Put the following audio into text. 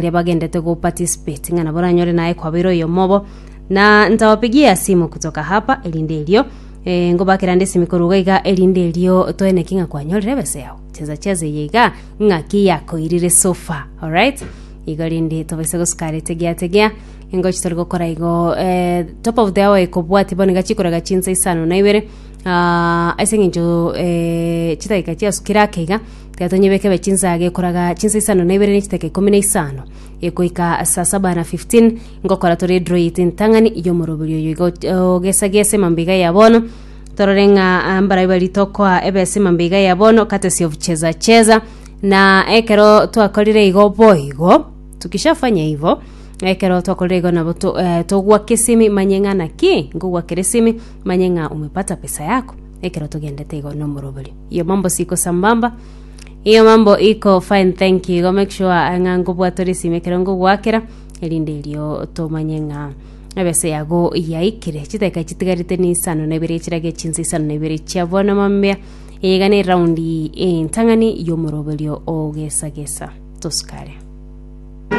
Baria bagendete go participate ng'a nabo oranyore naye kwabeire oyomo obo na ntawapigia simu kutoka hapa erinde erio eh, ngobakera nde esimi korwa iga iga erinde erio toeneki ng'a kwanyorire ebesa yago cheza cheza eye iga ng'aki yakoirire so far alright igo rende tobaise gosukara tegea tegea ngochi tori gokora igo eh, top of the hour ekobwati bono iga chikoraga chinsa isano na ibere ah, ase eng'encho eh, chidakika chiasukire ake iga Tiga tonyebeke ebe chinsa gekoraga chinsa isano na ibere ne chidakika ikomi na isano goika saa saba na 15 ngokora tore edraw yaito entang'ani y'omoroberi oyo igo ogesa-gesa emambia iga ya bono torore ng'a ah, mbarai baria tokoa ebesa emambia iga ya bono courtesy of cheza cheza na ekero twakorire igo boigo tukishafanya igo ekero twakorire igo nabo to, eh, togwaka esimi manye ng'a naki nkogwakera esimi manye ng'a umepata pesa yako ekero togendete igo nomoroberi Iyo mambo siko sambamba iyo mambo iko fine thank you igo make sure ng'a nkobwata ore esimi ekero nkogwakera erinde erio tomanye ng'a ebesa yago yaikire chidakika chitigarete ni isano na ibere chirage chinsa isano na ibere chia bono mambia eye iga ne eraundi entang'ani y'omoroberio ogesagesa tosukare.